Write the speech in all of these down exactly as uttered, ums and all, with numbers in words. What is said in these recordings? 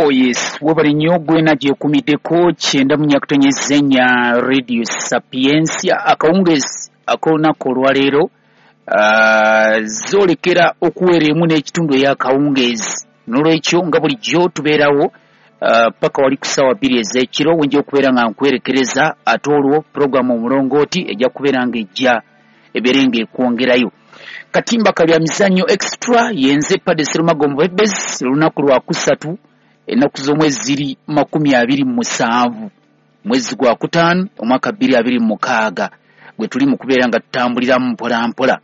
Oh yes, webale nnyo gwena gyekumiddeko kyenda mu nyakutonyeza ennya Radio Sapientia. Akawungeezi ak'olunaku olwaleero uh, zoolekera okuweera emu n'ekitundu ey'akawungeezi. N'olwekyo nga bulijjo tubeerawo uh, paka wali ku ssaawa bbiri ez'ekiro wenja okubeera nga nkwerekereza, ate olwo puroguramu omulongooti ejja kubeera ng'ejja ebeere ng'ekwongerayo. Katimba kalya mizannyo extra yenze Padde Serumago Mubebezi. Olunaku lwa kusatu, ennaku z'omwezi ziri makumi abiri mu musanvu, mwezi gwa kutaano, omwaka bbiri abiri mu mukaaga, gwe tuli mu kubeera nga tutambuliramu mpola mpola.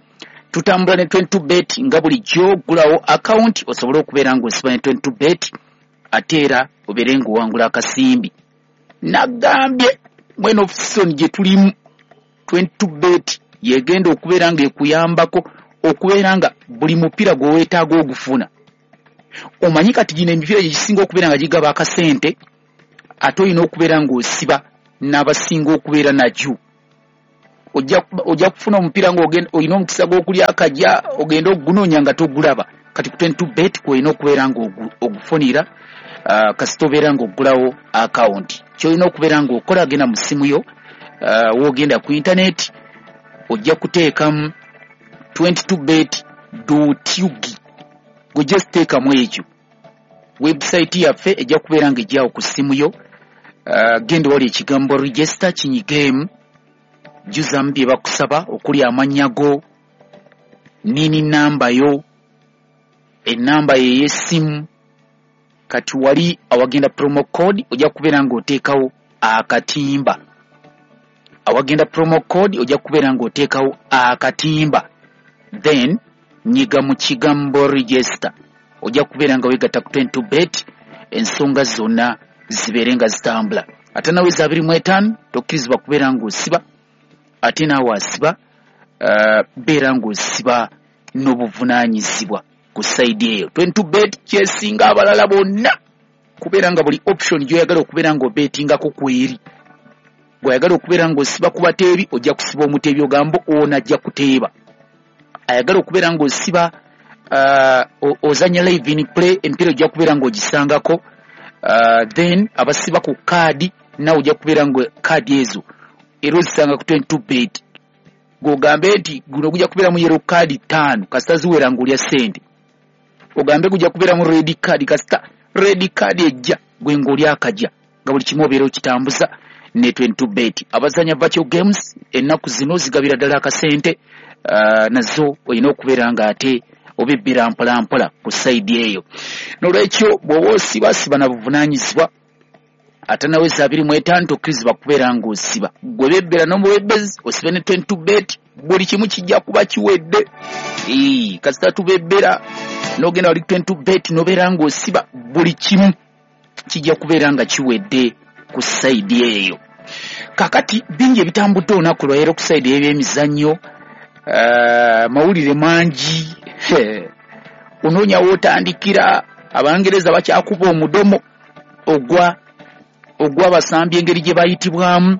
Tutambula ne twenty-two bet nga bulijjo. Ggulawo akawunti osobole okubeera ng'osiba ne twenty-two bet, ate era obeere ng'owangula akasimbi. Nagambye mweno season gye tulimu, twenty-two bet yegenda okubeera ng'ekuyambako okubeera nga buli mupiira gwe weetaaga ogufuna. Omanyi kati gino emipiira gye gisinga okubeera nga gigaba akasente, ate olina okubeera ng'osiba n'abasinga okubeera nagyo. Ojja kufuna omupiira ng'olina omukisa gw'okulya akajja, ogenda ogunoonya nga togulaba. Kati ku twenty-two bet kw'olina okubeera ng'ogufunira uh, kasita obeera ng'oggulawo akawunti. Ky'olina okubeera ng'okola, genda mu ssimu yo, uh, w'ogenda ku intaneti ojja kuteekamu twenty-two bet dot ug. Gwe just teekamu ekyo, website yaffe ejja kubeera ng'ejjawo ku ssimu yo. Uh, genda wali ekigambo register, kinyigeemu, jjuzamu bye bakusaba okuli amannya go, nini namba yo, ennamba yo ey'essimu. Kati wali awagenda promo code ojja kubeera ng'oteekawo akatimba. Awagenda promo code ojja kubeera ng'oteekawo akatimba, then nyiga mu kigambo register, ojja kubeera nga weegatta ku twenty-two bet, ensonga zonna zibeere nga zitambula. Ate naweza abiri mu etaano tokkirizibwa kubeera ng'osiba, ate naawe asiba uh, beera ng'osiba n'obuvunaanyizibwa ku sayidi eyo. twenty-two bet kyesinga abalala bonna kubeera nga buli option gy'oyagala okubeera ng'obeetingako kweri. Bw'oyagala okubeera ng'osiba ku bateebi, ojja kusiba omuteebi ogamba ono ajja kuteeba. Ayagala okubeera ng'osiba uh, ozanya live in play, emipiira ojja kubeera ng'ogisangako. uh, then abasiba ku kaadi naawe ojja kubeera nga kaadi ezo era ozisanga ku twenty-two bet. Gw'ogambe nti guno gujja kubeeramu yellow card ttaano, kasita ziwera ng'olya ssente. Ogambe gujja kubeeramu red card, kasita red card ejja gwe ng'olya akajja, nga buli kimu obeera okitambuza ne twenty-two bet. Abazanya virtual games ennaku zino zigabira ddala akasente, uh, nazo olina okubeera ng'ate obibbira mpola mpola ku sayidi eyo. N'olwekyo bw'oba osiba, siba na buvunaanyizibwa. Ate naweza abiri mu etaano tokkirizibwa kubeera ng'osiba. Gwe bebbera n'omuwebbezi osibe ne twenty-two bet, buli kimu kijja kuba kiwedde. Ee, kasita tubebbera n'ogenda wali twenty-two bet n'obeera ng'osiba, buli kimu kijja kubeera nga kiwedde ku sayidi eyo. Kaakati bingi ebitambudde olunaku lwaleero ku sayidi y'ebyemizannyo, uh, mawulire mangi. Onoonya w'otandikira. Abangereza bakyakuba omudomo ogwa ogw'abasambi engeri gye bayitibwamu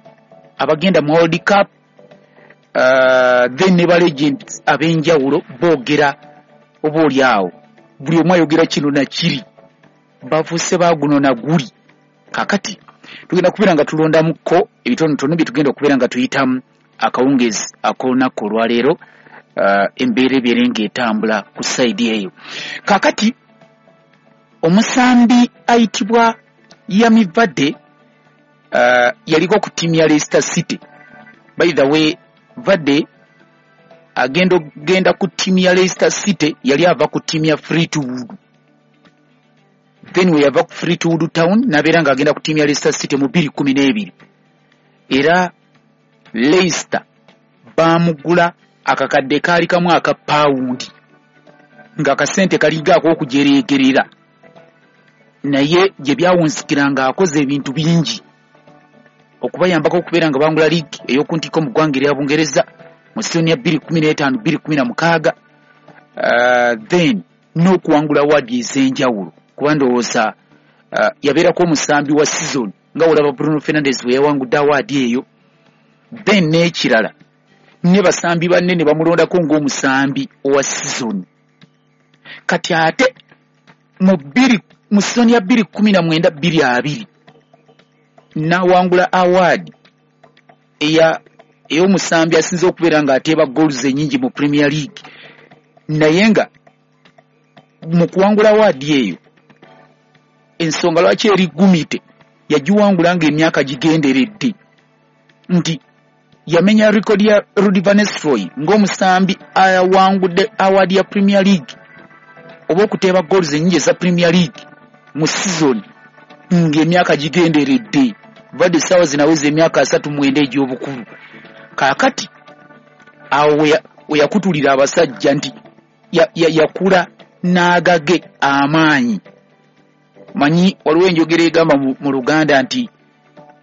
abagenda mu World Cup, uh, then ne ba legends ab'enjawulo boogera oba oli awo, buli omu ayogera kino na kiri, bafuuse baaguno na guli. Kaakati tugenda kubeera nga tulondamukko ebitonotono bye tugenda okubeera nga tuyitamu akawungeezi ak'olunaku olwaleero, uh, embeera ebeere ng'etambula ku sayidi eyo. Kaakati omusambi ayitibwa Yami Vardy uh, yaliko ku ttiimu ya Leicester City. By the way, Vardy agenda okugenda ku ttiimu ya Leicester City yali ava ku ttiimu ya Fleetwood. Then we yava ku Fleetwood Town n'abeera ng'agenda ku ttiimu ya Leicester City mu bbiri kumi n'ebiri. Era Leicester baamugula akakadde kaali kamu aka pawundi, ng'akasente kalinga ak'okujereegerera, naye gye byawunzikira ng'akoze ebintu bingi okubayambako okubeera nga bangula liigi ey'oku ntikko mu ggwanga erya Bungereza mu sizoni ya bbiri kumi n'etaano bbiri kumi na mukaaga, uh, then n'okuwangula awaadi ez'enjawulo. Kuba ndowooza uh, yabeerako omusambi wa season nga olaba Bruno Fernandes bwe yawangudde awaadi eyo. Then n'ekirala, ne basambi banne ne bamulondako ng'omusambi owa season. Kati ate mu bbiri Mu sizoni ya bbiri kkumi na mwenda bbiri abiri n'awangula award eya ey'omusambi asinze okubeera ng'ateeba goals ennyingi mu Premier League, naye nga mu kuwangula award eyo ensonga lwaki eri gumite yagiwangula ng'emyaka gigenderedde nti yamenya record ya Ruud van Nistelrooy ng'omusambi awangudde award ya Premier League oba okuteeba goals ennyingi eza Premier League mu season ng'emyaka gigenderedde. Vardy essaawa zino aweza emyaka asatu mwenda egy'obukulu. Kaakati awo we yakutulira abasajja nti yakula n'agage amaanyi. Manyi waliwo enjogera egamba mu Luganda nti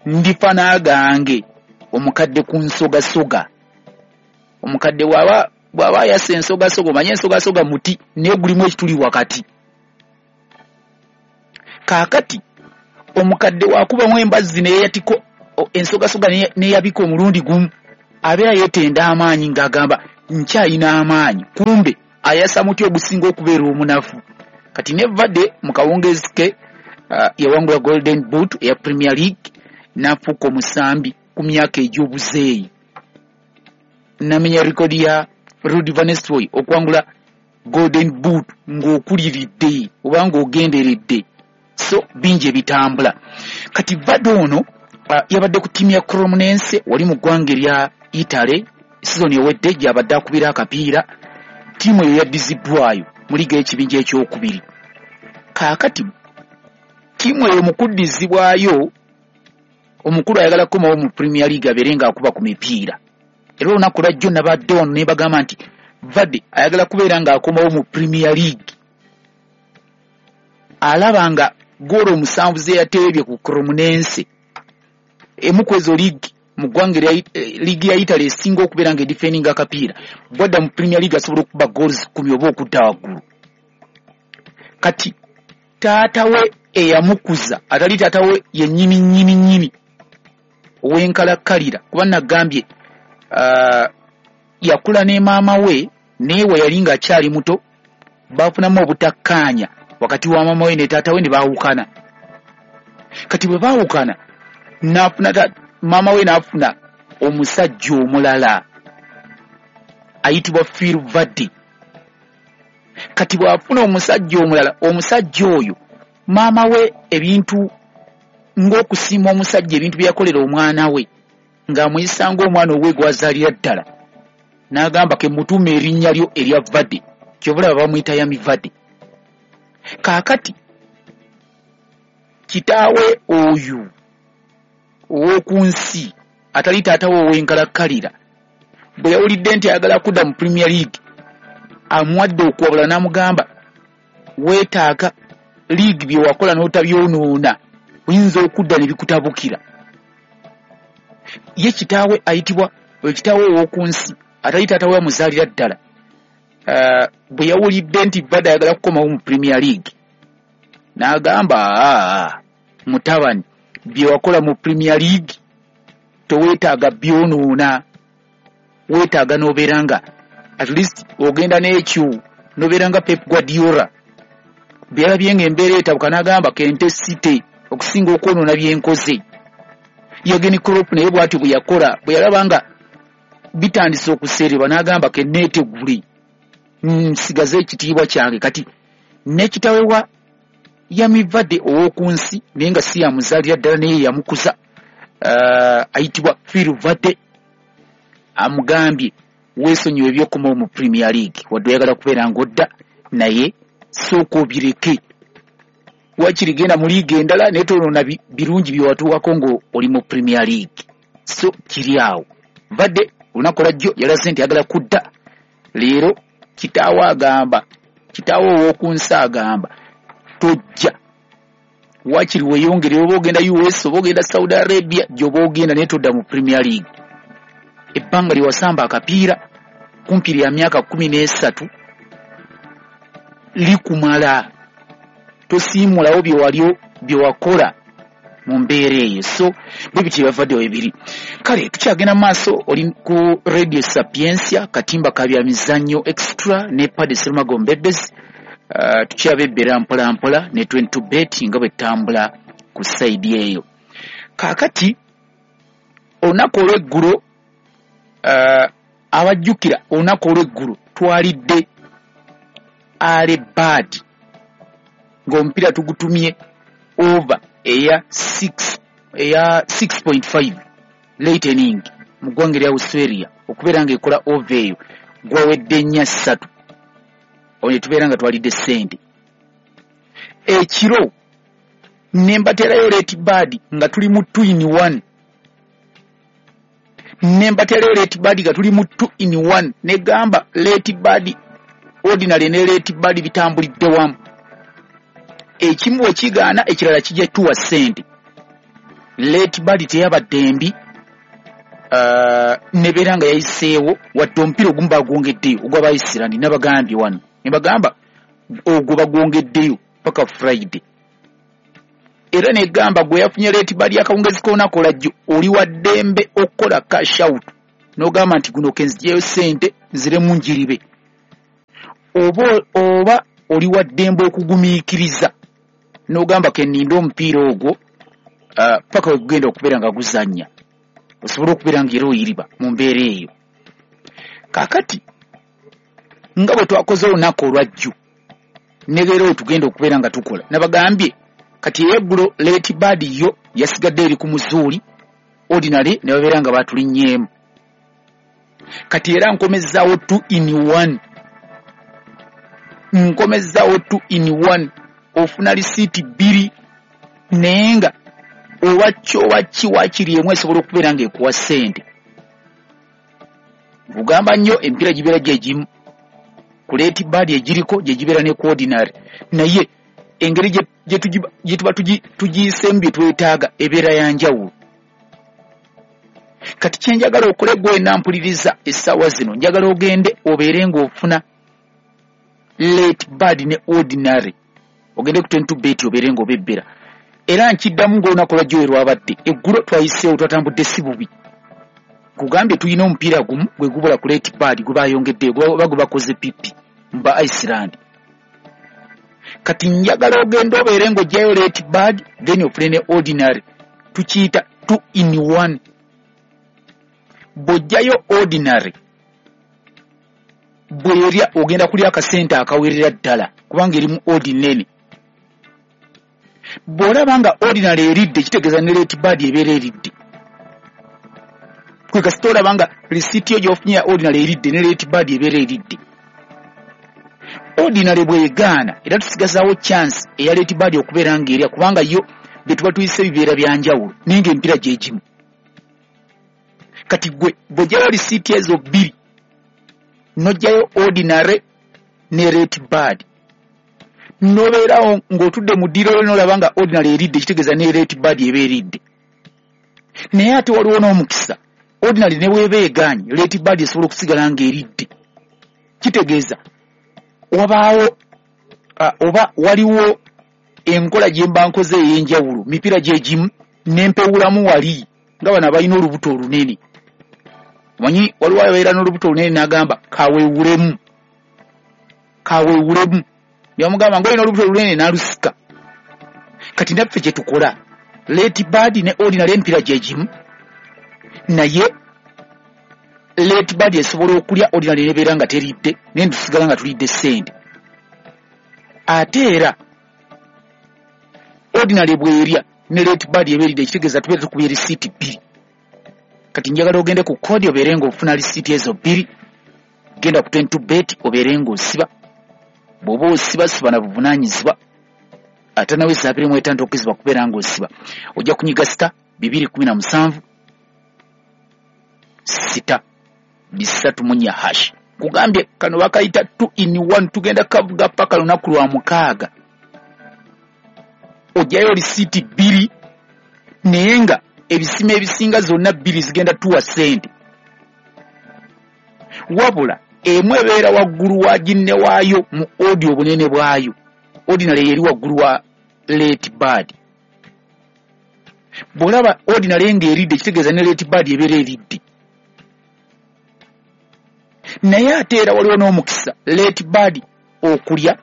ndifa n'agange omukadde ku nsogasoga. Omukadde bw'aba bw'aba ayasa ensogasoga, omanye ensogasoga muti naye gulimu ekituli wakati. Kaakati omukadde wakubamu embazzi n'eyatiko ensogasoga n'eyabika omulundi gumu, abeera yeetenda amaanyi ng'agamba nkyayina amaanyi, kumbe ayasa muti ogusinga okubeera omunafu. Kati ne Vardy mu kawungezi ke uh, yawangula Golden Boot eya Premier League n'afuuka omusambi ku myaka egy'obuzeeyi, n'amenya rekodi ya Ruud van Nistelrooy okuwangula Golden Boot ng'okuliridde oba ng'ogenderedde. So bingi ebitambula. Kati Vardy ono uh, yabadde ku ttiimu ya Cremonese wali mu ggwanga erya Italy sizoni ewedde gy'abadde akubira akapiira. Ttiimu eyo yaddiziddwayo mu liiga y'ekibinja ekyokubiri. Kaakati ttiimu eyo mu kuddizibwayo omukulu ayagala kukomawo mu Premier League abeere ng'akuba ku mipiira. Era olunaku lwajjo nabadde wano ne bagamba nti Vardy ayagala kubeera ng'akomawo mu Premier League, alaba nga goolo omusanvu ze yateebye ku Cremonese, emu ku ezo liigi mu ggwanga liigi ya Italy esinga okubeera nga edifendinga akapiira, bwadda mu Premier League asobola okukuba goals kkumi oba okudda waggulu. Kati taata we eyamukuza atali taata we yennyini nnyini nnyini ow'enkalakkalira, kuba nagambye uh, yakula ne maama we, naye we yali ng'akyali muto baafunamu obutakkaanya wakati wa maama we ne taata we ne baawukana. Kati bwe baawukana n'afuna maama we n'afuna omusajja omulala ayitibwa Phil Vardy. Kati bw'afuna omusajja omulala, omusajja oyo maama we ebintu ng'okusiima omusajja ebintu bye yakolera omwana we ng'amuyisa ng'omwana owe gw'azaalira ddala, n'agamba ke mutuume erinnya lyo erya Vardy, ky'ova olaba bamuyita Yami Vardy. Kaakati kitaawe oyo ow'oku nsi atali taata we ow'enkalakkalira bwe yawulidde nti ayagala kudda mu Premier League, amuwadde okuwabula n'amugamba weetaaga league bye wakola n'otabyonoona, oyinza okudda ne bikutabukira. Ye kitaawe ayitibwa oyo kitaawe ow'oku nsi atali taata we amuzaalira ddala, uh, bwe yawulidde nti Vardy ayagala kukomawo mu Premier League n'agamba aa mutabani, bye wakola mu Premier League toweetaaga byonoona, weetaaga n'obeera nga at least ogenda n'ekyo n'obeera nga Pep Guardiola bye yalabye ng'embeera etabuka n'agamba kente site okusinga okwonoona bye nkoze. Jurgen Klopp naye bw'atyo bwe yakola, bwe yalaba nga bitandise okuseererwa n'agamba ke neetegule nsigaze ekitiibwa kyange. Kati ne kitaawe wa Yami Vardy ow'oku nsi naye nga si yamuzaalira ddala naye yamukuza, uh, ayitibwa Phil Vardy, amugambye weesonyiwe ebyokukomawo mu Premier League, wadde oyagala kubeera ng'odda naye sooka obireke, wakiri genda mu liiga endala naye tonoona birungi bye watuukako ng'oli mu Premier League. So kiri awo. Vardy olunaku lwajjo yalaze nti ayagala kudda, leero kitaawe agamba, kitaawe ow'oku nsi agamba tojja, wakiri weeyongere oba ogenda U S oba ogenda Saudi Arabia gy'oba ogenda naye todda mu Premier League. Ebbanga lye wasamba akapiira kumpi lya myaka kkumi n'esatu likumala, tosiimulawo bye wali bye wakola mu mbeera eyo. So bwe bityo byavaddewo ebiri. Kale tukyagenda mu maaso, oli ku Radio Sapientia, katimba ka bya mizannyo extra ne Paddy Serumago Mbebezi. Uh, tukyabebbera mpola mpola ne twenty-two bet nga bwe ttambula ku sayidi eyo. Kaakati olunaku olw'eggulo, uh, abajjukira olunaku olw'eggulo twalidde early bird ng'omupiira tugutumye over eya six, eya six point five late inning mu ggwanga erya Australia okubeera ng'ekola over eyo gwawedde nnya ssatu. Awo ne tubeera nga twalidde ssente. Ekiro ne mbateerayo late bird nga tuli mu two in one. Ne mbateerayo late bird nga tuli mu two in one. Ne gamba late bird ordinary ne late bird bitambulidde wamu. Ekimu bwe kigaana ekirala kijja tuwa ssente. Late bird teyabadde mbi, uh, nebeera nga yayiseewo wadde omupiira ogumu bagwongeddeyo ogw'aba Iceland nabagambye wano. Ne bagamba ogwo bagwongeddeyo paka Friday. Era negamba gwe yafunye late bird akawungezi k'olunaku olwajjo oli wa ddembe okukola cash out n'ogamba nti guno kenzijeyo ssente nziremu njiribe. Oba, oba oli wa ddembe okugumiikiriza n'ogamba kenninde omupiira ogwo, uh, paka we gugenda okubeera nga guzannya osobole okubeera nga era oyiriba mu mbeera eyo. Kaakati nga bwe twakoze olunaku olwajjo ne leero we tugenda okubeera nga tukola, nabagambye kati ey'eggulo late bird yo yasigadde eri ku muzuuli ordinary ne babeera nga batulinnyeemu. Kati era nkomezzaawo two in one. Nkomezzaawo two in one. Ofuna lisiiti bbiri naye nga oba ki oba ki waakiri emu esobola okubeera ng'ekuwa ssente. Nkugamba nnyo emipiira gibeera gye gimu ku late bird egiriko gye gibeera ne ku ordinary, naye engeri gye, gye tugi-, gye tuba tugi-, tugiyiseemu bye twetaaga ebeera ya njawulo. Kati kye njagala okole gwe wenna mpuliriza essaawa zino, njagala ogende obeere ng'ofuna late bird ne ordinary, ogende ku twenty-two bet obeere ng'obebbera. Era nkiddamu ng'olunaku lwajjo we lwabadde, eggulo twayiseewo twatambudde si bubi. Nkugambye tulina omupiira gumu gwe gubula ku late bird gwe bayongeddeyo, oba gwe bakoze pipi mu ba Iceland. Kati njagala ogende obeere ng'oggyayo late bird then ofune ne ordinary, tukiyita two in one. Bw'oggyayo ordinary bw'erya ogenda kulya akasente akawerera ddala kubanga eri mu odi nnene. Bw'olaba nga ordinary eridde kitegeeza ne late bird ebeera eridde. Kwe kasita olaba nga risiiti yo gy'ofunye ya ordinary eridde ne late bird ebeera eridde. Ordinary bw'egaana era tusigazaawo chance eya late bird okubeera ng'erya kubanga yo bye tuba tuyise bibeera bya njawulo naye ng'emipiira gye gimu. Kati gwe bw'oggyayo risiiti ezo bbiri n'oggyayo ordinary ne late bird n'obeerawo ng'otudde mu ddiiro lyo n'olaba nga ordinary eridde kitegeeza ne late bird eba eridde. Naye ate waliwo n'omukisa ordinary ne bw'eba egaanye late bird esobola okusigala ng'eridde. Kitegeeza wabaawo, uh, oba waliwo enkola gye mba nkoze ey'enjawulo, mipiira gye gimu ne mpewulamu wali nga bano abalina olubuto olunene. Omanyi waliwo ababeera n'olubuto olunene n'agamba kaweewulemu, kaweewulemu. Ne bamugamba ng'olina olubuto olunene n'alusika. Kati naffe kye tukola late bird ne ordinary emipiira gye gimu, naye late bird esobola okulya ordinary n'ebeera nga teridde naye tusigala nga tulidde ssente. Ate era ordinary bw'erya ne late bird eba eridde kitegeeza tubeera tukubye risiiti bbiri. Kati njagala ogende ku koodi obeere ng'ofuna risiiti ezo bbiri, genda ku twenty-two bet obeere ng'osiba. Bw'oba osiba siba na buvunaanyizibwa, ate nawe abiri mu etaano tokkirizibwa kubeera ng'osiba. Ojja kunyiga sita bibiri kumi na musanvu sita bisatu mu nnya hash. Nkugambye kano bakayita two in one, tugenda kavuga paka lunaku lwa mukaaga. Oggyayo risiiti bbiri naye nga ebisima ebisinga zonna bbiri zigenda tuwa ssente. Wabula emu ebeera waggulu wa ginne waayo mu odi obunene bwayo. Ordinary eri waggulu wa late bird. Bw'olaba ordinary ng'eridde kitegeeza ne late bird ebeera eridde. Naye ate era waliwo n'omukisa late bird okulya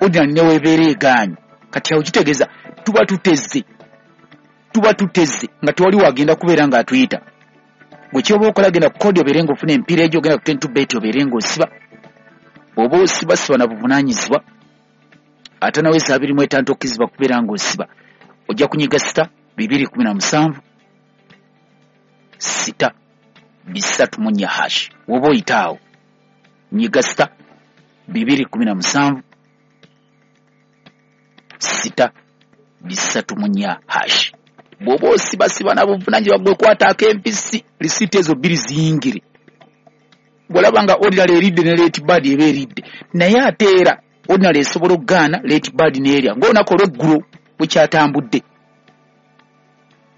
Ordinary newebeera egaanyi. Kati awo kitegeeza tuba tuteze, tuba tuteze nga tewali wagenda kubeera ng'atuyita. Gwe kyoba okola, genda ku kodi obeere ng'ofuna emipiira egyo, genda ku twenty two bet obeere ng'osiba. Bw'oba osiba, siba na buvunaanyizibwa. Ate nawe abiri mu etaano tokkirizibwa kubeera ng'osiba. Ojja kunyiga sita bibiri kumi na musanvu sita bisatu mu nnya hash. Woba oyita awo nyiga sita bibiri kumi na musanvu sita bisatu mu nnya hash. Bw'oba osibasiba na buvunaanyizibwa, gwe kwataako empisi, risiiti ezo bbiri ziyingire. Bw'olaba nga ordinary eridde ne late bird eba eridde, naye ate era ordinary esobola okugaana, late bird n'erya ng'olunaku olw'eggulo bwe kyatambudde.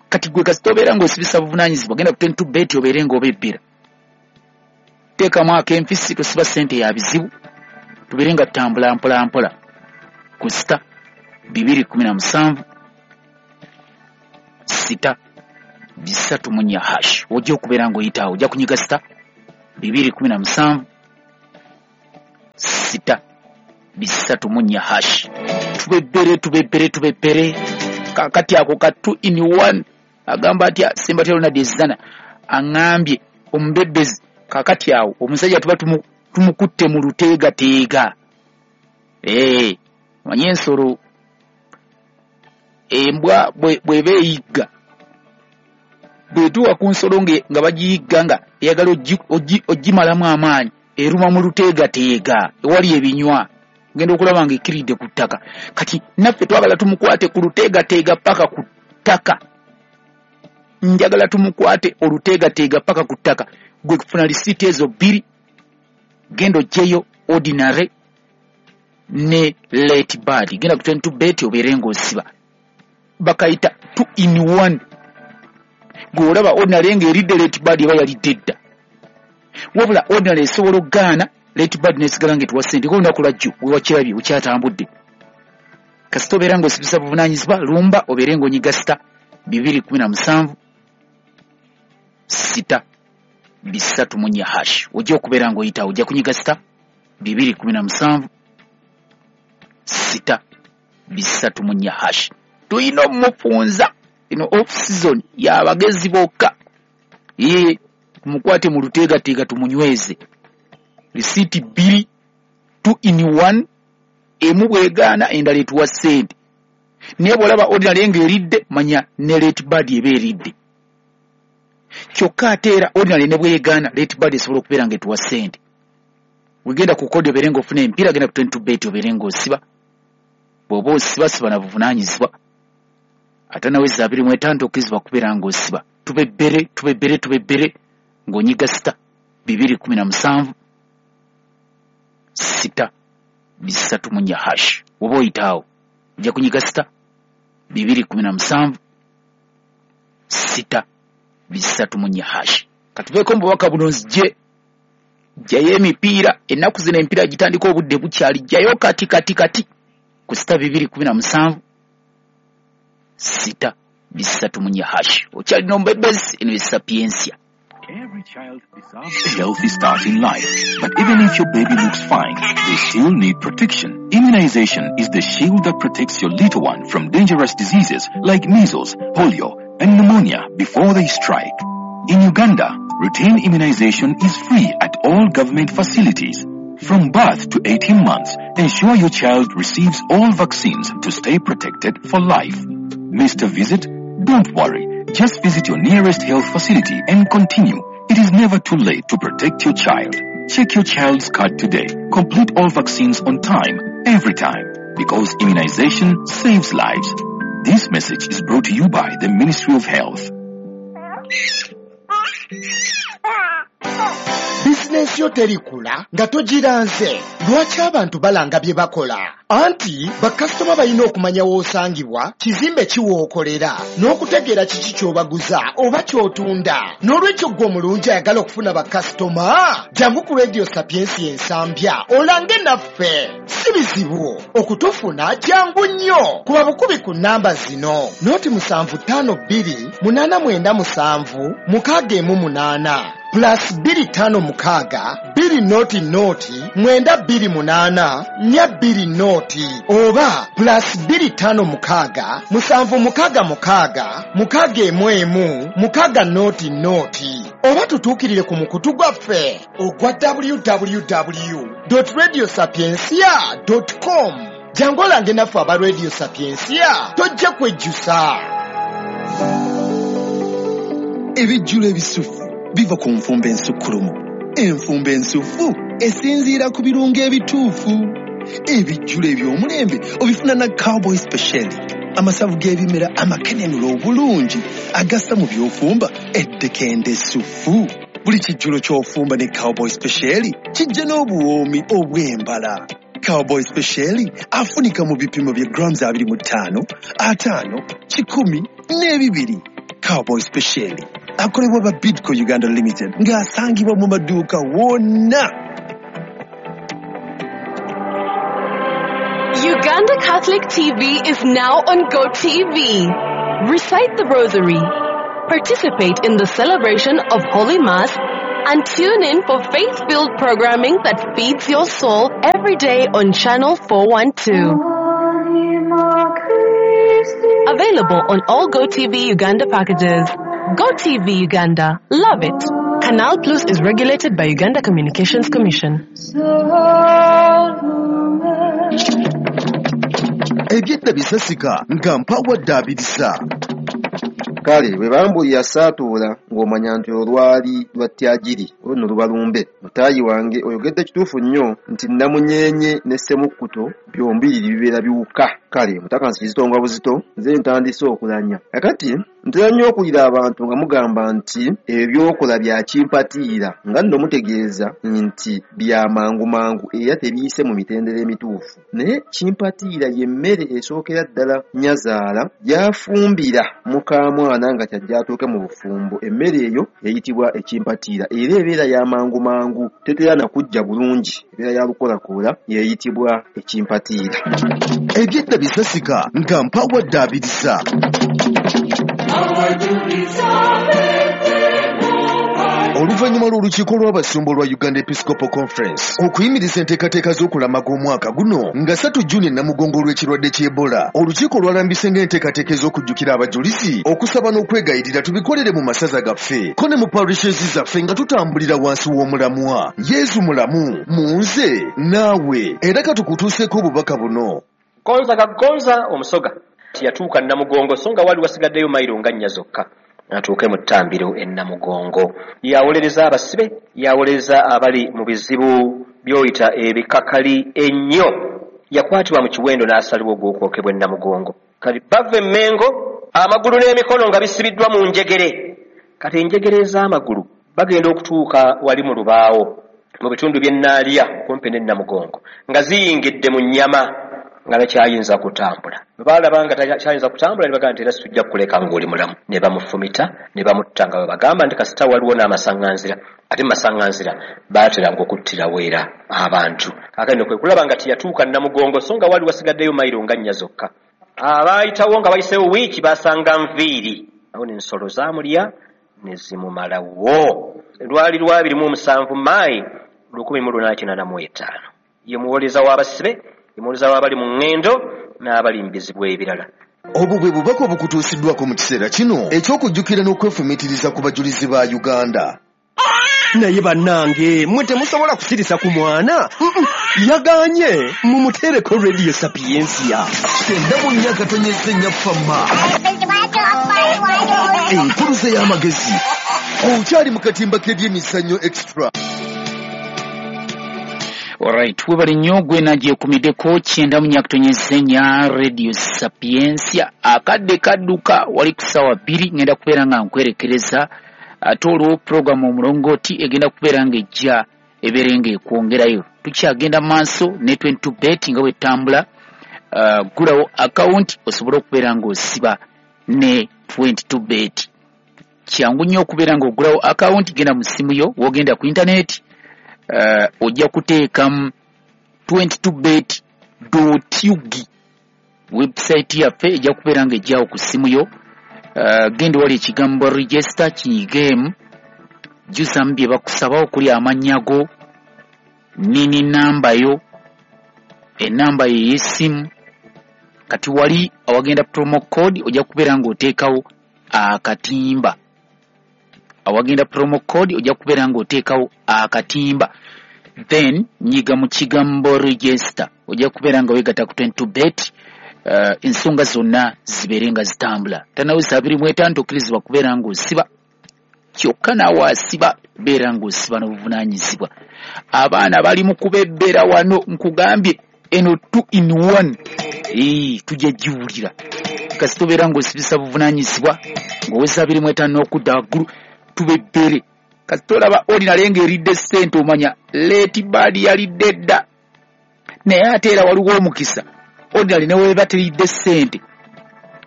Kati gwe kasita obeera ng'osibisa buvunaanyizibwa, genda ku twenty two bet obeere ng'obebbera, teekamu ak'empisi, tosiba ssente ya bizibu, tubeere nga tutambula mpola mpola ku sita bibiri kumi na musanvu sita bisatu mu nnya hash. Ojja okubeera ng'oyitaawo, ojja kunyiga sita bibiri kumi na musanvu sita bisatu mu nnya hash. Tubebbere, tubebbere, tubebbere. Kakati ako ka two in one agamba atya Sembatya Ronald Ezzana aŋŋambye omubebbezi. Kakati awo omusajja tuba tumukutte mu luteegateega. Ee, manye ensolo embwa bw'eba eyigga, bw'etuuka ku nsolo nga bagiyigga nga eyagala ogimalamu amaanyi, eruma mu luteegateega ewali ebinywa, genda okulaba nga ekkiridde ku ttaka. Kati naffe twagala tumukwate ku luteegateega paka ku ttaka. Njagala tumukwate oluteegateega paka ku ttaka. Gwe kufuna lisiiti ezo bbiri, genda oggyeyo ordinary ne late bird, genda ku twenty two bet obeere ng'osiba. Bakayita two in one. Gwe olaba ordinary ng'eridde, late bird eba yalidde dda. Wabula ordinary esobola okugaana, late bird nesigala ng'etuwa ssente ng'olunaku lwajjo wewakirabye wekyatambudde. Kasita obeera ng'osibisa buvunaanyizibwa, lumba obeere ng'onyiga sita bibiri kumi na musanvu sita bisatu mu nnya hash. Ojja okubeera ng'oyitawo, ojja kunyiga sita bibiri kumi na musanvu sita bisatu mu nnya hash. Tulina omumufunza eno off season y'abagezi bokka. Ye tumukwate mu luteegateega, tumunyweze. Risiiti bbiri, two in one, emu bwegaana endala etuwa ssente. Naye bw'olaba ordinary ng'eridde, manya ne late bird eba eridde. Kyokka ate era ordinary ne bwegaana, late bird esobola okubeera ng'etuwa ssente. Wegenda ku kodi obeere ng'ofuna emipiira, genda ku twenty two bet obeere ng'osiba. Bw'oba osiba, siba na buvunaanyizibwa. Ate nawe abiri mu etaano tokkirizibwa kubeera ng'osiba. Tubebbere, tubebbere, tubebbere ng'onyiga sita bibiri kumi na musanvu sita bisatu mu nnya hash. Woba oyitaawo ojja kunyiga sita bibiri kumi na musanvu sita bisatu mu nnya hash. Katuveeko mu bubaka buno, nzije jjayo emipiira. Ennaku zino emipiira gitandika obudde bukyali. Jjayo kati kati kati ku sita bibiri kumi na musanvu sita bisatu mu nnya hash. Okyalina omubebezi, eno ye Sapiensia. Every child deserves a healthy start in life. But even if your baby looks fine, they still need protection. Immunization is the shield that protects your little one from dangerous diseases like measles, polio, and pneumonia before they strike. In Uganda, routine immunization is free at all government facilities. From birth to eighteen months, ensure your child receives all vaccines to stay protected for life. Missed a visit? Don't worry. Just visit your nearest health facility and continue. It is never too late to protect your child. Check your child's card today. Complete all vaccines on time, every time. Because immunization saves lives. This message is brought to you by the Ministry of Health. Bizinensi yo terikula nga togiranze. Lwaki abantu balanga bye bakola? Anti bakasitoma balina okumanya w'osangibwa, kizimbe kiwookolera, n'okutegeera kiki ky'obaguza oba ky'otunda. N'olwekyo ggwe omulungi ayagala okufuna bakasitoma, jangu ku Radio Sapiensi Ensambya olange naffe. Si bizibu okutufuna, jangu nnyo. Kuba bukubi ku nnamba zino: nooti musanvu ttaano bbiri munaana mwenda musanvu mukaaga emu munaana. plus bbiri ttaano mukaaga bbiri noti noti mwenda bbiri munaana nnya bbiri noti oba plus bbiri ttaano mukaaga musanvu mukaaga mukaaga mukaaga emu emu mukaaga noti noti oba tutuukirire ku mukutu gwaffe ogwa w w w dot radio sapientia dot com. Jangu olange naffe aba Radio Sapientia, tojja kwejjusa. Ebijjulo ebisufu biva ku nfumba ensukkulumu. Enfumba ensufu esinziira ku birungo ebituufu. Ebijjulo eby'omulembe obifuna na Cowboy Special, amasavu g'ebimera amakenenula obulungi agassa mu by'ofumba eddekende essufu. Buli kijjulo ky'ofumba ne Cowboy Special kijja n'obuwoomi obw'embala. Cowboy Special afunika mu bipimo bya grams abiri mu ttaano, ataano, kikumi n'ebibiri. Cowboy Special akolebwa ba Bidco Uganda Limited ng'asangibwa mu maduuka wonna. Uganda Catholic T V is now on GoTV. Recite the Rosary, participate in the celebration of Holy Mass, and tune in for faith-filled programming that feeds your soul every day on Channel four one two. Available on all GoTV Uganda packages. GoTV Uganda. Love it. Canal Plus is regulated by Uganda Communications Commission. Ebyedda bisasika nga mpawadde abirisa. Kale bwe bambulira saatuula ng'omanya nti olwali lwa tyagiri olwo nno luba lumbe. Mutaayi wange oyogedde kituufu nnyo nti nnamunyeenye ne ssemukkuto byombiriri bibeera biwuka. Kale mutakansi kizito nga buzito, nze ntandise okulanya. Kakati ntera nnyo okuwulira abantu nga mugamba nti ebyo by'okola bya kimpatiira, nga nno mutegeeza nti bya mangu mangu era tebiyise mu mitendera emituufu. Naye kimpatiira y'emmere esookera ddala nnyazaala gy'afumbira mukaamwana nga kyajja atuuke mu bufumbo. Emmere eyo eyitibwa ekimpatiira era ebeera ya mangu mangu, tetera na kujja bulungi, ebeera ya lukolakoola, y'eyitibwa ekimpatiira. Ebyedda bisasika nga mpawadde abirisa. Oluvannyuma lw'olukiiko lw'abasumba olwa Uganda Episcopal Conference okuyimiriza enteekateeka z'okulamaga omwaka guno nga ssatu Juni Namugongo olw'ekirwadde ky'Ebola, olukiiko lwalambise ng'enteekateeka ez'okujjukira abajulizi, okusaba n'okwegayirira tubikolere mu masaza gaffe ko ne mu parishes zaffe nga tutambulira wansi w'omulamwa Yesu mulamu mu nze naawe. Era katukutuuseeko obubaka buno. Gonza kagonza omusoga yatuuka Namugongo so nga wali wasigaddeyo mayiro nga nnya zokka atuuke mu ttambiro e Namugongo. Yawolereza abasibe, yawolereza abali mu bizibu by'oyita ebikakali ennyo. Yakwatibwa mu kiwendo n'asalibwa ogw'okwokebwa e Namugongo. Kati bava e Mmengo amagulu n'emikono nga bisibiddwa mu njegere. Kati enjegere ez'amagulu bagenda okutuuka wali mu lubaawo mu bitundu by'e Naalya okumpi ne Namugongo nga ziyingidde mu nnyama nga takyayinza kutambula. Bwe baalaba nga takyayinza kutambula ne bagamba nti era sijja kukuleka ng'oli mulamu. Ne bamufumita ne bamutta nga bwe bagamba nti kasita waliwo n'amasaŋŋanzira. Ate mu masaŋŋanzira baateranga okuttirawo era abantu. Kaakati nno kwe kulaba nga teyatuuka Namugongo so nga wali wasigaddeyo mayiro nga nnya zokka. Abaayitawo nga bayiseewo wiiki baasanga nviiri. Awo n'ensolo zaamulya ne zimumalawo. Lwali lwa abiri mu musanvu Maayi lukumi mu lunaana kinaana mu etaano. Ye muwolereza w'abasibe, muwolereza w'abali mu ŋŋendo n'abali mu bizibu ebirala. Obwo bwe bubaka obukutuusiddwako mu kiseera kino eky'okujjukira n'okwefumiitiriza ku bajulizi ba Uganda. Naye bannange mmwe temusobola kusirisa ku mwana. Yaganye mumuteereko Radio Sapientia. Kyenda mu nnya akatonyeza ennya fama. Enkuluze y'amagezi. Okyali mu katimba k'ebyemizannyo extra. Alright, webale nnyo gwe nagyekumiddeko kyenda mu nnya akatonyeza ennya Radio Sapientia. Akadde kadduka wali ku ssaawa bbiri ngenda kubeera nga nkwerekereza ate olwo puroguramu omulongooti egenda kubeera ng'ejja ebeere ng'ekwongerayo. Tukyagenda maaso ne twenty-two bet nga bwetambula. Uh, gulawo akawunti osobole okubeera ng'osiba ne twenty-two bet. Kyangu nnyo okubeera ng'ogulawo akawunti, genda mu ssimu yo w'ogenda ku intaneti, uh, ojja kuteekamu twenty-two bet dot u g. Website yaffe ejja kubeera ng'ejjawo ku ssimu yo. Uh, genda wali ekigambo register kinyigeemu, Jjuzamu bye bakusaba okuli amannya go, nini namba yo, enamba ye y'essimu. Kati wali awagenda promo code ojja kubeera ng'oteekawo akatimba. Awagenda promo code ojja kubeera ng'oteekawo akatimba. Then nyiga mu kigambo register, ojja kubeera nga weegatta ku twenty-two bet, uh, ensonga zonna zibeere nga zitambula. Tanaweza abiri mu etaano tokkirizibwa kubeera ng'osiba, kyokka naawe asiba beera ng'osiba n'obuvunaanyizibwa. Abaana bali mu kubebbera wano, nkugambye eno two in one. Ee, tujja giwulira. Kasita obeera ng'osibisa buvunaanyizibwa ng'oweza abiri mu etaano n'okudda waggulu, tubebbere. Kasita olaba ordinary ng'eridde ssente omanya late bird yalidde dda. Naye ate era waliwo omukisa ordinary ne weeba teridde ssente,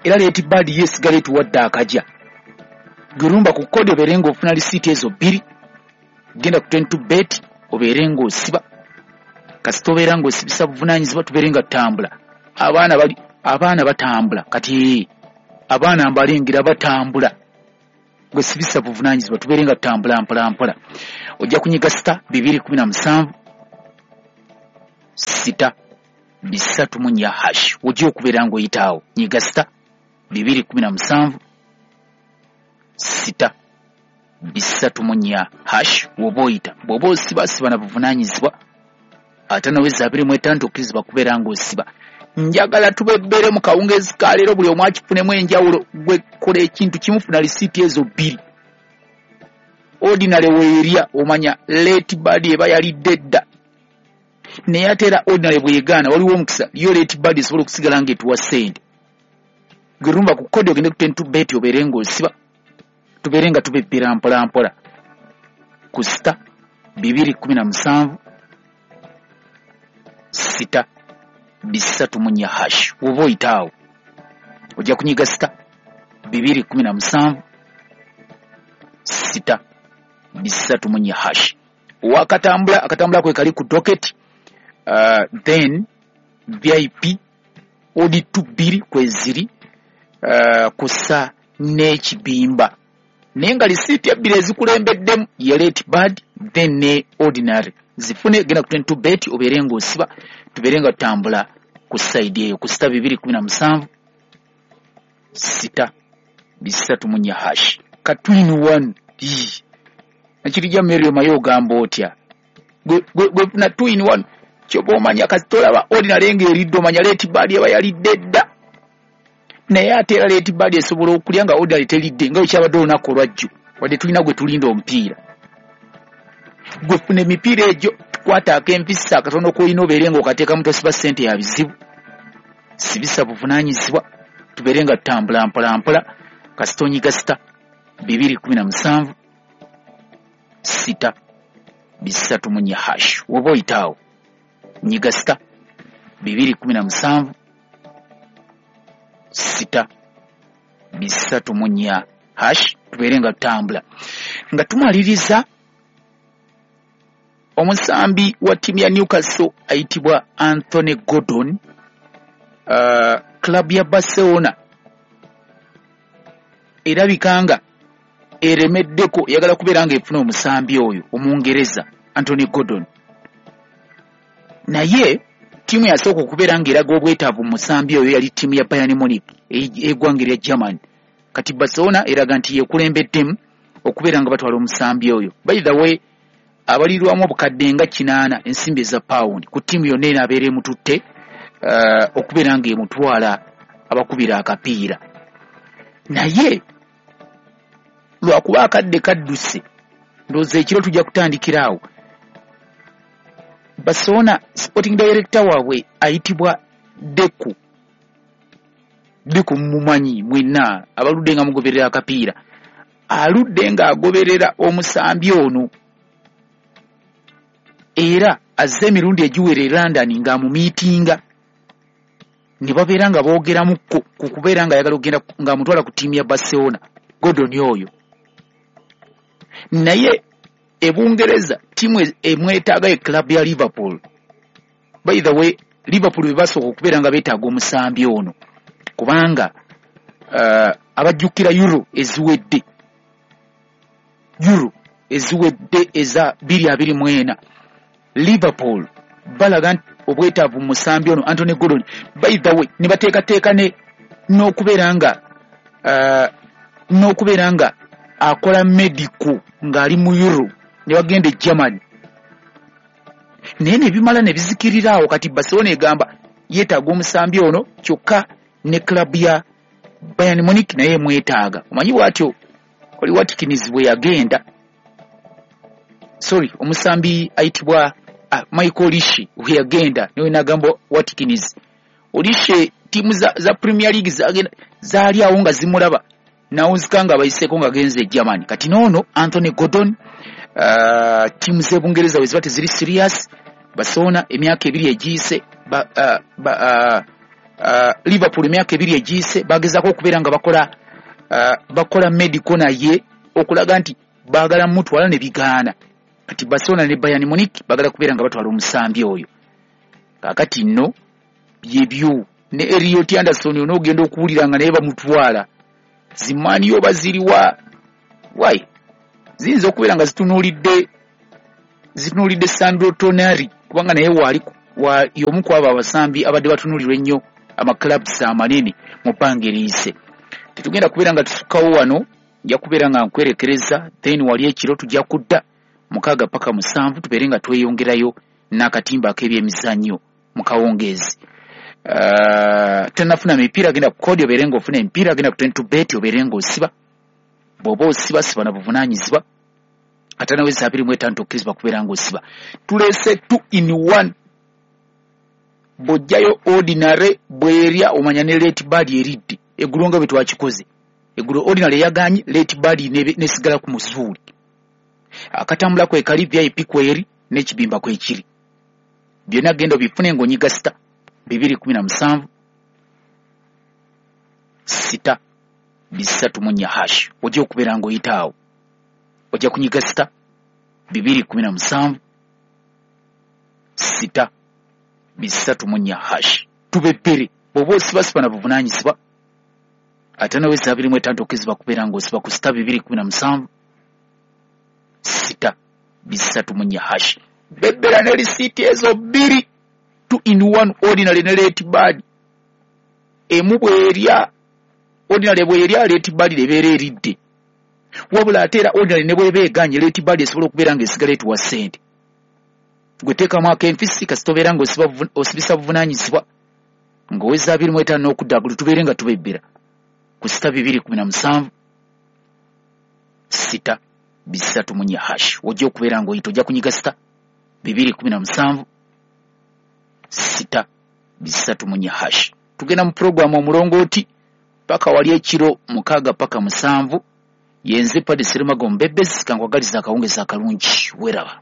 era late bird ye esigala etuwadde akajja. Gwerumba ku kodi obeere ng'ofuna lisiiti ezo bbiri, genda ku twenty-two bet obeere ng'osiba. Kasita obeera ng'osibisa buvunaanyizibwa tubeere nga tutambula. Abaana bali, abaana batambula kati, abaana mbalengera batambula. Gwe sibisa buvunaanyizibwa tubeere nga tutambula mpola mpola. Ojja kunyiga sita bibiri kumi na musanvu sita bisatu mu nnya hash, ojja okubeera ng'oyitaawo. Nyiga sita bibiri kumi na musanvu sita bisatu mu nnya hash woba oyita. Bw'oba osiba siba na buvunaanyizibwa, ate naweza abiri mu etaano tokkirizibwa kubeera ng'osiba. Njagala tubebbere mu kawungeezi ka leero, buli omu akifunemu enjawulo. Gwe kola ekintu kimu, funa lisiiti ezo bbiri. Ordinary weerya omanya late bird eba yalidde dda. Naye ate era ordinary bw'egaana waliwo omukisa yo late bird esobola okusigala ng'etuwa ssente. Gwe rumba ku kodi ogende ku twenty-two bet obeere ng'osiba, tubeere nga tubebbera mpola mpola. Ku sita bibiri kumi na musanvu sita bisatu mu nnya hash woba oyitaawo. Ojja kunyiga sita bibiri kumi na musanvu sita bisatu mu nnya hash. Wakatambula akatambula kwe kali ku docket, uh, then V I P odi two bbiri kweziri, uh, kusa n'ekibimba. Naye nga lisiiti ebbiri ezikulembeddemu ye late bird then ne ordinary. Zifune, genda ku twenty-two bet obeere ng'osiba, tubeere nga tutambula ku side eyo ku sita bibiri kumi na musanvu sita bisatu mu nnya hash. Ka two in one. Nakirijja Mary omaye ogamba otya? Gwe gwe funa two in one kyoba omanya. Kasita olaba ordinary ng'eridde omanya late bird eba yalidde dda. Naye ate era late bird esobola okulya nga ordinary teridde, nga bwe kyabadde olunaku olwajjo, wadde tulina gwe tulinda omupiira. Gwe funa emipiira egyo, kwata ak'empisa akatono k'olina obeere ng'okateekamu, tosiba ssente ya bizibu. Sibisa buvunaanyizibwa, tubeere nga tutambula mpola mpola. Kasita onyiga sita bibiri kumi na musanvu sita bisatu mu nnya hash woba oyitaawo. Nyiga sita bibiri kumi na musanvu sita bisatu mu nnya hash, tubeere nga tutambula. Nga tumaliriza, omusambi wa ttiimu ya Newcastle ayitibwa Anthony Gordon, uh, club ya Barcelona erabika nga eremeddeko, eyagala kubeera ng'efuna omusambi oyo Omungereza Anthony Gordon. Naye ttiimu yasooka okubeera ng'eraga obwetaavu mu musambi oyo yali ttiimu ya Bayern Munich ey'eggwanga erya Germany. Kati Barcelona eraga nti yekulembeddemu okubeera nga batwala omusambi oyo. By the way, abalirwamu obukadde nga kinaana ensimbi eza pound ku ttiimu yonna enaabeera emututte, uh, okubeera ng'emutwala abakubira akapiira. Naye lwakuba akadde kadduse, ndowooza ekiro tujja kutandikira awo. Barcelona sporting director waabwe ayitibwa Deco. Deco mumumanyi mwenna abaludde nga mugoberera akapiira. Aludde ng'agoberera omusambi ono, era azze emirundi egiwera e London ng'amumiitinga, ne babeera nga boogeramukko ku kubeera ng'ayagala okugenda ng'amutwala ku ttiimu ya Barcelona, Gordon oyo. Naye e Bungereza ttiimu emwetaaga ye club ya Liverpool. By the way, Liverpool be basooka okubeera nga beetaaga omusambi ono, kubanga uh, abajjukira Euro eziwedde, Euro eziwedde eza bbiri abiri mu ena. Liverpool balaga nti obwetaavu mu musambi ono Anthony Gordon, by the way ne bateekateeka ne n'okubeera nga uh, n'okubeera nga akola medical ng'ali mu Euro, ne bagenda e Germany, naye ne bimala ne bizikirira awo. Kati Barcelona egamba yeetaaga omusambi ono, kyokka ne club ya Bayern Munich naye emwetaaga. Omanyi bw'atyo Oli Watkins bwe yagenda, sorry, omusambi ayitibwa ah, Michael Olise bwe yagenda, niwe nagamba Watkins. Olise ttiimu za, za Premier League zagenda zaali awo nga zimulaba, nawunzika nga abayiseeko nga agenze e Germany. Kati noono Anthony Gordon, uh, ttiimu z'e Bungereza bwe ziba teziri serious, Barcelona emyaka ebiri egiyise ba, uh, ba, uh, uh, Liverpool emyaka ebiri egiyise bagezaako okubeera nga bakola uh, bakola medical naye okulaga nti baagala mutwala ne bigaana. Kati Barcelona ne Bayern Munich baagala kubeera nga batwala omusambi oyo. Kaakati nno byebyo ne Elliot Anderson onoogenda okuwulira nga naye bamutwala. Zimaani oba ziriwa why ziyinza okubeera nga zitunuulidde zitunuulidde Sandro Tonali, kubanga naye waali wa y'omu ku abo abasambi abadde batunuulirwa ennyo amaclubs amanene mu bbanga eriyise. Tetugenda kubeera nga tusukkawo wano, nja kubeera nga nkwerekereza, then wali ekiro tujja kudda mukaaga paka musanvu tubeere nga tweyongerayo n'akatimba ak'ebyemizannyo mu kawungeezi. Uh, tenafuna mipiira, genda ku kodi obeere ng'ofuna emipiira, genda ku twenty bet obeere ng'osiba. Bw'oba osiba siba na buvunaanyizibwa, ate nawe abiri mu etaano tokkirizibwa kubeera ng'osiba. Tuleese two in one, bw'ojjayo ordinary bw'erya omanya ne late bird eridde. Eggulo nga bwe twakikoze, eggulo ordinary yagaanyi, late bird nesigala ku muzuuli. Akatambula kwe kali, V I P kweri n'ekibimba kwekiri, byonna genda obifune ng'onyiga sita bibiri kumi na musanvu sita bisatu mu nnya hash. Ojja okubeera ng'oyita awo, ojja kunyiga sita bibiri kumi na musanvu sita bisatu mu nnya hash. Tubebbere bw'oba osibasiba na buvunaanyizibwa, ate nawe abiri mu etaano tokkirizibwa kubeera ng'osiba ku sita bibiri kumi na musanvu sita bisatu mu nnya hash. Bebbera ne risiiti ezo bbiri, two in one, ordinary ne late bird. Emu bw'erya ordinary bw'erya late bird ebeera eridde, wabula ate era ordinary ne bw'eba eganye late bird esobola okubeera ng'esigala etuwa ssente. Gwe teekamu ak'enfisi kasita obeera ng'osibisa buvunaanyizibwa ng'oweza abiri mu etaano n'okudda aggulu, tubeere nga tubebbera ku sita bibiri kumi na musanvu sita bisatu mu nnya hash. Ojja okubeera ng'oyita, ojja kunyiga sita bibiri kumi na musanvu sita bisatu mu nnya hash. Tugenda mu puroguramu omulongooti paka wali ekiro mukaaga paka musanvu. Yenze Padre Serumago Mbebezi, kankwagaliza akawungeezi akalungi, weeraba.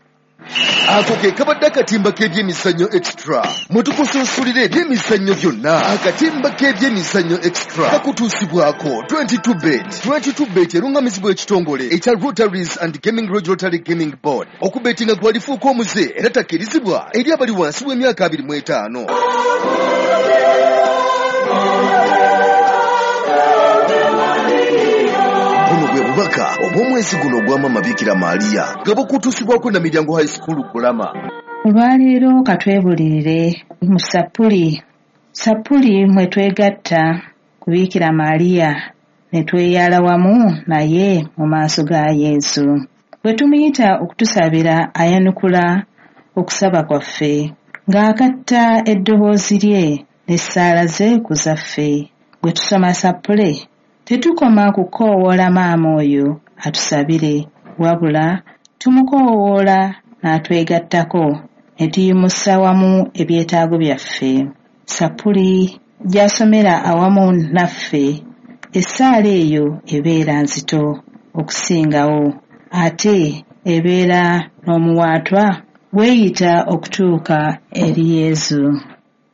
Ako ke kabadde akatimba k'ebyemizannyo extra, mwe tukusunsulira ebyemizannyo byonna. Akatimba k'ebyemizannyo extra kakutuusibwako twenty-two bet. twenty-two bet erungamizibwa ekitongole ekya Rotaries and Gaming Regulatory Gaming Board. Okubetinga gwalifuuka omuze era takkirizibwa eri abali wansi w'emyaka abiri mu etaano. Buno bwe bubaka obw'omwezi guno ogwa Maama Bikira Maria nga bukutuusibwako na Miryango High School Kulama. Olwaleero katwebulirire mu sappuli. Sappuli mwe twegatta ku Bikira Maria ne tweyala wamu naye mu maaso ga Yesu. Bwe tumuyita okutusabira ayanukula okusaba kwaffe ng'akatta eddoboozi lye n'essaala ze ku zaffe. Bwe tusoma sappule tetukoma kukoowoola maama oyo atusabire, wabula tumukoowoola n'atwegattako ne tuyimusa wamu ebyetaago byaffe. Sappuli gy'asomera awamu naffe, essaala eyo ebeera nzito okusingawo, ate ebeera n'omuwaatwa weeyita okutuuka eri Yesu.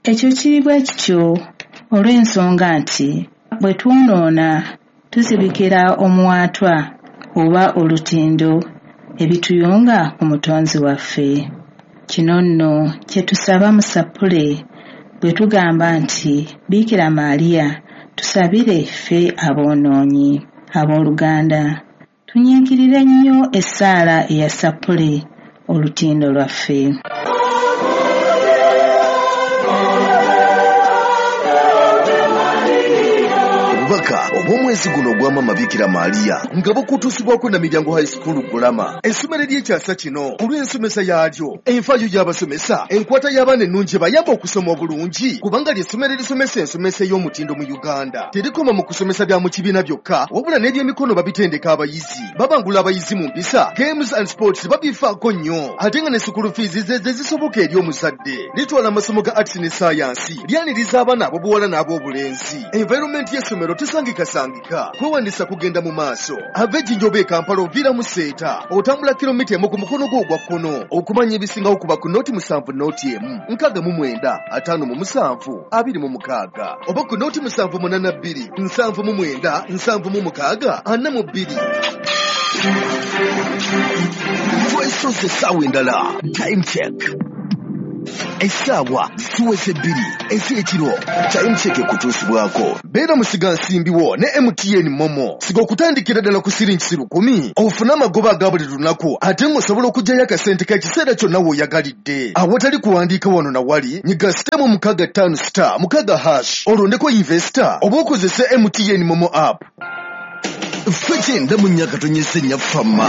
Ekyo kiri bwe kityo olw'ensonga nti bwe twonoona tuzibikira omuwaatwa oba olutindo ebituyunga ku Mutonzi waffe. Kino nno kye tusaba mu sappule bwe tugamba nti Bikira Maria tusabire ffe aboonoonyi. Abooluganda, Tunyiikirire nnyo essaala eya Ssappule, olutindo lwaffe. Obubaka obw'omwezi guno ogwa Maama Bikira Maria nga bukutuusibwako Namilyango High School Gulama, essomero ery'ekyasa kino olw'ensomesa yaalyo, enfaayo y'abasomesa, enkwata y'abaana ennungi ebayamba okusoma obulungi, kubanga ly'essomero erisomesa ensomesa ey'omutindo mu Uganda. Terikoma mu kusomesa bya mu kibiina byokka, wabula n'ebyemikono babitendeka abayizi, babangula abayizi mu mpisa, games and sports babifaako nnyo, ate nga ne school fees ze ze zisoboka eri omuzadde. Litwala amasomo ga arts ne science, lyaniriza abaana ab'obuwala n'ab'obulenzi. Environment y'essomero tesangikasangika, kwewandisa kugenda mu maaso. Ava Ejjinja oba e Kampala oviira mu Seeta, otambula kilomita emu ku mukono gwo ogwa kkono. Okumanya ebisingawo kuba ku nooti musanvu nooti emu nkaaga mu mwenda ataano mu musanvu abiri mu mukaaga oba ku nooti musanvu munaana bbiri nsanvu mu mwenda nsanvu mu mukaaga ana mu bbiri. Twesoze essaawa endala. Time check. Essaawa ziweze bbiri ez'ekiro. Time check ekutuusibwako. Beera musigansimbi wo ne M T N Momo. Siga okutandikira ddala ku siringi lukumi ofune amagoba aga buli lunaku, ate ng'osobola okuggyayo akasente k'ekiseera kyonna w'oyagalidde. Awatali kuwandiika wano na wali, nyiga star mu mukaaga ttaano star mukaaga hash olondeko investor oba okozese M T N Momo app. Ffe kyenda mu nnya katonyeze nnya fama.